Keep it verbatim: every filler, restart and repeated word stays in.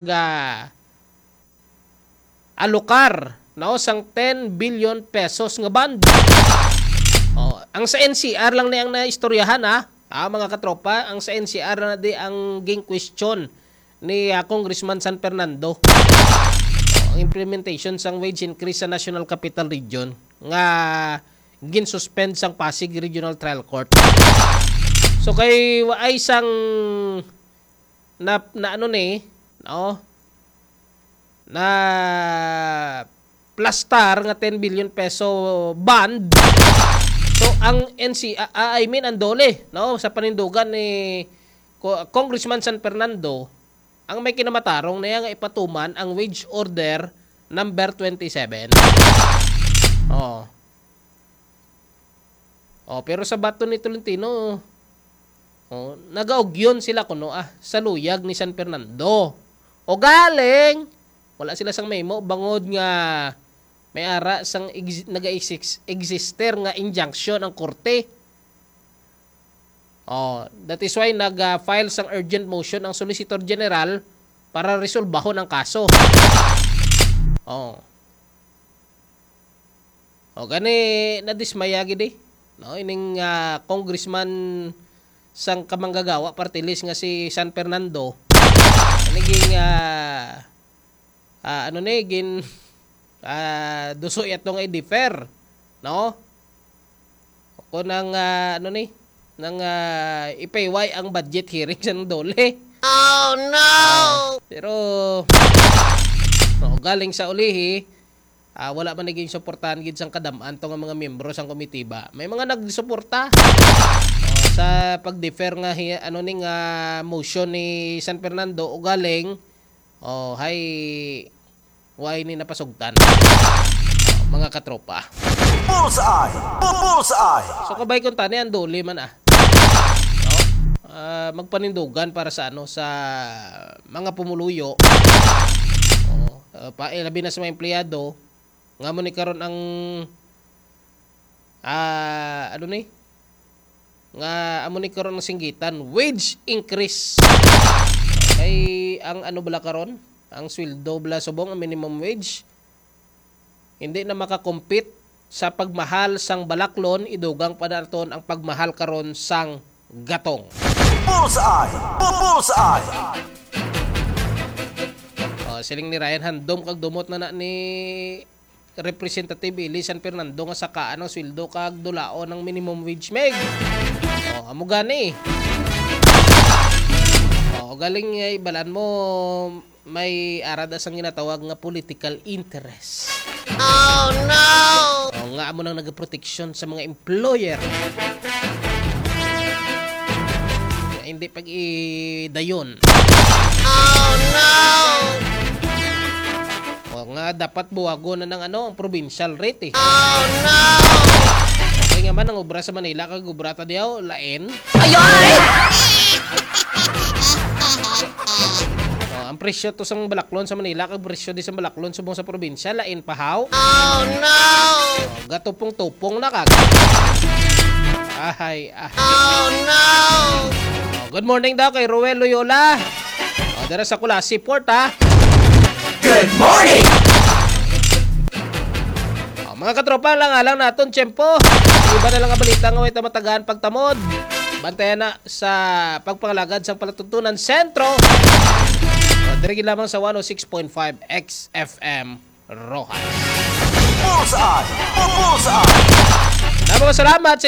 ga alokar, no, sang ten billion pesos nga bond. Oh, ang sa N C R lang ni ang naistoryahan, ha? Ah, mga katropa, ang sa N C R na di ang ging question ni, ah, Congressman San Fernando. Oh, ang implementation sang wage increase sa National Capital Region nga ginsuspend sang Pasig Regional Trial Court. So kay wa ay sang na, na ano ni, no? Na plastar nga ten billion peso bond. So ang N C, ah, ah, I mean ang DOLE, no, sa panindugan ni Co-, Congressman San Fernando, ang may kinamatarong niya nga ipatuman ang wage order number twenty-seven. Oh. Oh, pero sa bato ni Tolentino, oh, nagaugyon sila kuno, ah, sa luyag ni San Fernando. O galing, wala sila sang mahimo bangod nga may ara sang ex-, naga-exis-, exister nga injunction ang korte. Oh, that is why nag-file sang urgent motion ang Solicitor General para resolbahon ang kaso. Oh. O gani, nadismaya gid, eh, no, ining, ah, congressman sang Kamanggagawa party list nga si San Fernando. Ano ging, ah, ah, ano ni, gin, ah, duso yato nga i-defer, no? Kung nang, ah, ano ni, nang, ah, ipayway ang budget hearing sa DOLE. Oh, no! Ah, pero, no, galing sa ulihi, ah, wala man naging suportahan gid sang kadam-an to nga mga miyembro sang komitiba. May mga nagsuporta, oh, sa pag-defer nga hi-, ano ni nga motion ni San Fernando, o galing, oh, hay, why ni napasugtan, mga katropa. Bullseye! Bu-, bullseye! So, kabay kung tani ang DOLE man, ah. No? Ah, magpanindugan para sa, ano, sa mga pumuluyo. Oh, ah, pa, eh, labi na sa mga empleyado, nga mo ni karon ang, ah, ano ni? Nga amo ni karon ang singgitan, wage increase. Kay ang ano bala karon? Ang sweldo bala subong, ang minimum wage, hindi na makakompete sa pagmahal sang balaklon, idugang pa naton ang pagmahal karon sang gatong. Bullseye! Bu-, bullseye! Oh, siling ni Ryan, handom kag dumot na na ni Representative Eli San Fernando nga sakaan ang sweldo kag dulaon ang minimum wage, Meg. Oh, amo gani. Oh, galing, eh, ibalan mo, may arad sang ginatawag nga political interest. Oh, no! Oh, nga amo nang nagaproteksyon sa mga employer. Nga hindi pag-idayon. Oh, no! O nga, dapat buwagon na ng ano, ang provincial rate, eh. Oh, no! Kaya nga man, ang obra sa Manila, kag obra ta diyaw, lain. Ayoy! O, ang presyo to sang balaklon sa Manila, kag presyo di sa balaklon subong sa probinsya, lain pa, haw? Oh, no! O, gatupong-tupong na kag. Ahay, ah. Oh, no! O, good morning daw kay Ruel Loyola. O, dira sa Culasi Port, ha? Good morning! O, mga katropa, lang alang naton tiyempo. Iba na lang nga balita nga way ta matagaan pagtamod. Bantayan na sa pagpangalagad sang palatuntunan sentro. O, diri gid lamang sa one oh six point five X F M. Rojas. Bullseye! Bullseye! Daghang salamat sa